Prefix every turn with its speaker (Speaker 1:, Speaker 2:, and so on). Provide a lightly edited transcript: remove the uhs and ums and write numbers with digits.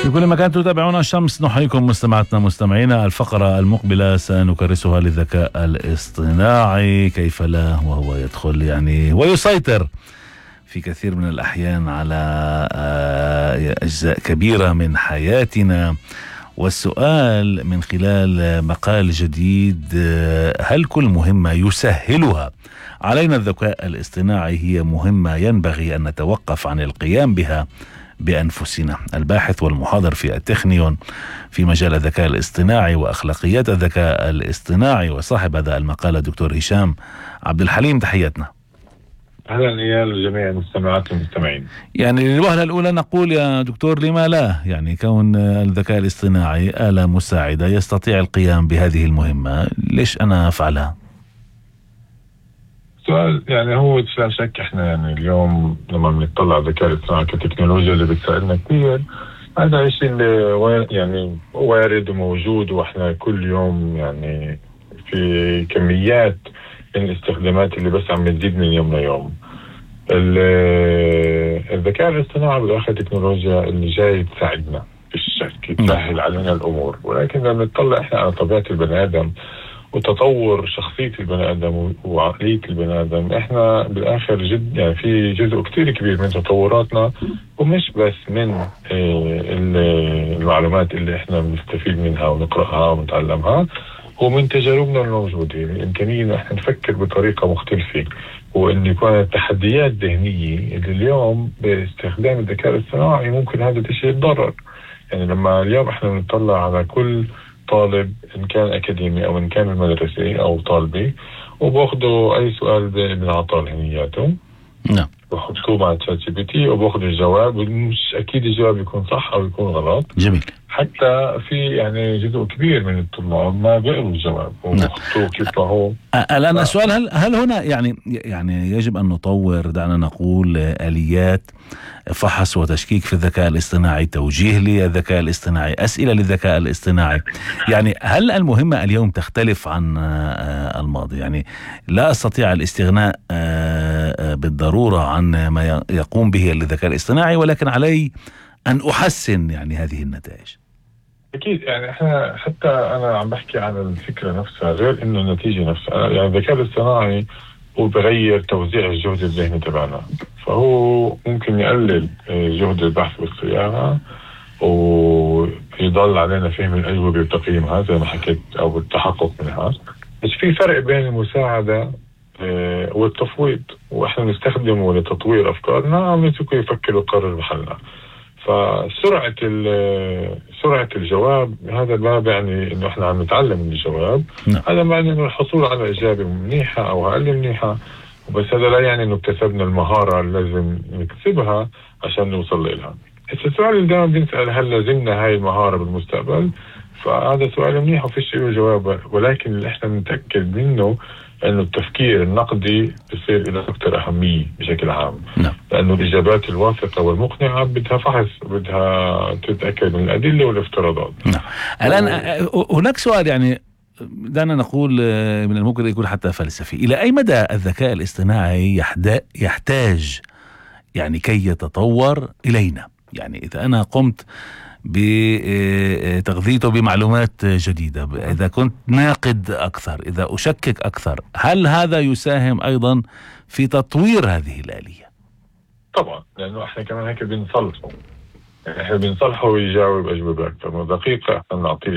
Speaker 1: في كل مكان تتابعون الشمس، نحييكم مستمعاتنا مستمعينا. الفقرة المقبلة سنكرسها للذكاء الاصطناعي، كيف لا وهو يدخل يعني ويسيطر في كثير من الأحيان على أجزاء كبيرة من حياتنا. والسؤال من خلال مقال جديد: هل كل مهمة يسهلها علينا الذكاء الاصطناعي هي مهمة ينبغي أن نتوقف عن القيام بها بأنفسنا؟ الباحث والمحاضر في التكنيون في مجال الذكاء الاصطناعي وأخلاقيات الذكاء الاصطناعي وصاحب هذا المقال الدكتور هشام عبد الحليم، تحياتنا.
Speaker 2: أهلا إيال لجميع المستمعات والمستمعين.
Speaker 1: يعني للوهلة الأولى نقول يا دكتور لما لا، يعني كون الذكاء الاصطناعي آلة مساعدة يستطيع القيام بهذه المهمة، ليش أنا أفعلها؟
Speaker 2: سؤال يعني هو لا شك احنا يعني اليوم لما بنطلع على الذكاء الاصطناعي كتكنولوجيا اللي بتساعدنا كثير، هذا الشيء اللي يعني وارد وموجود، واحنا كل يوم يعني في كميات من الاستخدامات اللي بس عم تزيد من يوم ليوم. الذكاء الاصطناعي بالاخر تكنولوجيا اللي جاي تساعدنا في الشك، تسهل علينا الامور، ولكن لما نطلع احنا على طبيعة البني ادم وتطور شخصية البني آدم وعقلية البني آدم، إحنا بالآخر جد يعني في جزء كتير كبير من تطوراتنا، ومش بس من المعلومات اللي إحنا بنستفيد منها ونقرأها ونتعلمها، ومن تجاربنا الموجودة. الإمكانية إن إحنا نفكر بطريقة مختلفة، وإن يكون التحديات ذهنية اللي اليوم باستخدام الذكاء الاصطناعي ممكن هذا الشيء يتضرر. يعني لما اليوم إحنا بنطلع على كل طالب إن كان أكاديمي أو إن كان المدرسي أو طالبي، وباخدوا أي سؤال بنعطاه لهنياته،
Speaker 1: نعم،
Speaker 2: بحطوه مع تشات جي بي تي وباخدوا الجواب، ومش أكيد الجواب يكون صح أو يكون غلط.
Speaker 1: جميل.
Speaker 2: حتى في يعني جزء كبير من الطلاب ما بيقروا الجواب وبخطوه كيف هو.
Speaker 1: الآن السؤال: هل هنا يعني يجب أن نطور، دعنا نقول، آليات فحص وتشكيك في الذكاء الاصطناعي، توجيه للذكاء الاصطناعي، أسئلة للذكاء الاصطناعي؟ يعني هل المهمة اليوم تختلف عن الماضي؟ يعني لا أستطيع الاستغناء بالضرورة عن ما يقوم به الذكاء الاصطناعي، ولكن علي أن أحسن يعني هذه النتائج.
Speaker 2: أكيد يعني إحنا حتى أنا عم بحكي عن الفكرة نفسها غير إنه النتيجة نفسها. يعني الذكاء الاصطناعي هو بغير توزيع الجهد الذهني تبعنا، فهو ممكن يقلل جهد البحث والصياغة ويضل علينا فهم الأجوبة وتقييمها زي ما حكيت أو التحقق منها. بس في فرق بين المساعدة والتفويض، وإحنا نستخدمه لتطوير أفكارنا عم نتركه يفكر ويقرر محلنا. فسرعة الجواب هذا ما يعني إنه إحنا عم نتعلم من الجواب، هذا معنى إنه الحصول على إجابة منيحة أو أقل منيحة، وبس هذا لا يعني إنه اكتسبنا المهارة اللي لازم نكتسبها عشان نوصل لها. السؤال اللي دائما بنسأل: هل لازمنا هاي المهارة بالمستقبل؟ فهذا سؤال منيح وفيش له جواب، ولكن اللي إحنا نتأكد منه أنه التفكير النقدي بصير له أكثر أهمية بشكل عام. لأنه الإجابات الواثقة والمقنعة بدها فحص، بدها تتأكد من الأدلة والافتراضات.
Speaker 1: الآن هناك سؤال، يعني دعنا نقول من الممكن يكون حتى فلسفي: إلى أي مدى الذكاء الاصطناعي يحتاج يعني كي يتطور إلينا؟ يعني إذا أنا قمت بتغذيته بمعلومات جديدة، إذا كنت ناقد أكثر، إذا أشكك أكثر، هل هذا يساهم أيضا في تطوير هذه الآلية؟
Speaker 2: طبعا، لأنه إحنا كمان هيك بنصلحه، يعني إحنا بنصلحه ويجاوب أجوبة أكثر دقيقة، إحنا نعطيه